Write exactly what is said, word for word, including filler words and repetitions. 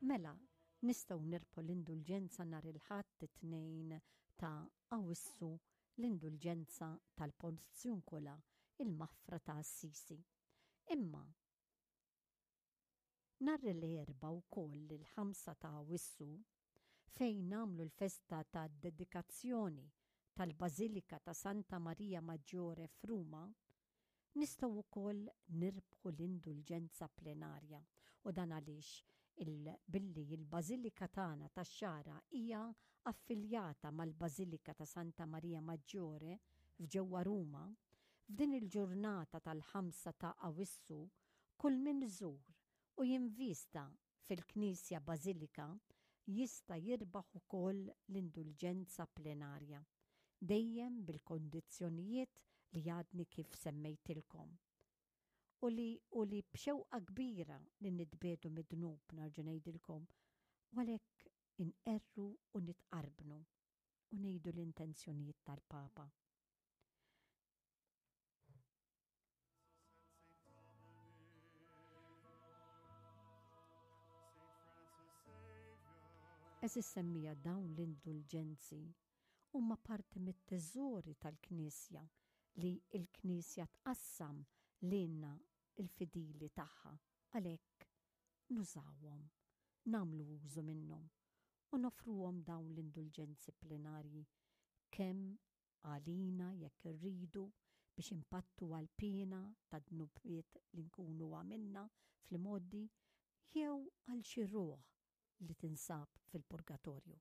Mela, nistgħu nirbħu l-indulġenza nhar il-Ħadd it-tnejn ta' Awwissu, l-indulġenza tal-Porziuncola, il-maħfra ta' Assisi. Imma nhar l-Erbgħa wkoll, il-ħamsa ta' Awwissu, fejn nagħmlu l-festa ta' dedikazzjoni tal-Bażilika ta' Santa Maria Maggiore f'Ruma, nistgħu wkoll nirbħu l-indulġenza plenarja, u dan għaliex il billi il-Bażilika tagħna tax-Xagħra hija affiljata mal-Bażilika ta' Santa Maria Maggiore f'ġewwa Ruma, f'din il-ġurnata tal-ħamsa ta' Awwissu kull min iżur u jinvista fil-Knisja Bażilika jista' jirbaħ ukoll l-indulġenza plenarja, dejjem bil-kondizzjonijiet li għadni kif semmejtilkom. U li, u li b'xewqa kbira li nitbiegħdu mid-dnub, nerġa' ngħidilkom, u għalhekk inqerru u nitqarbnu u ngħidu l-intenzjonijiet tal-Papa. Għeżież semmija, dawn l-indulġenzi huma parti mit-teżori tal-Knisja li l-Knisja tqassam lilna il-fidili tagħha, għalhekk nużawhom, nagħmlu użu minnhom u nofruhom dawn l-indulġenzi plenarji kemm għalina jekk irridu biex impattu għal-piena ta' dnubiet li nkunu għamilna fl-imgħoddi jew għal xi ruħ li tinsab fil-purgatorju.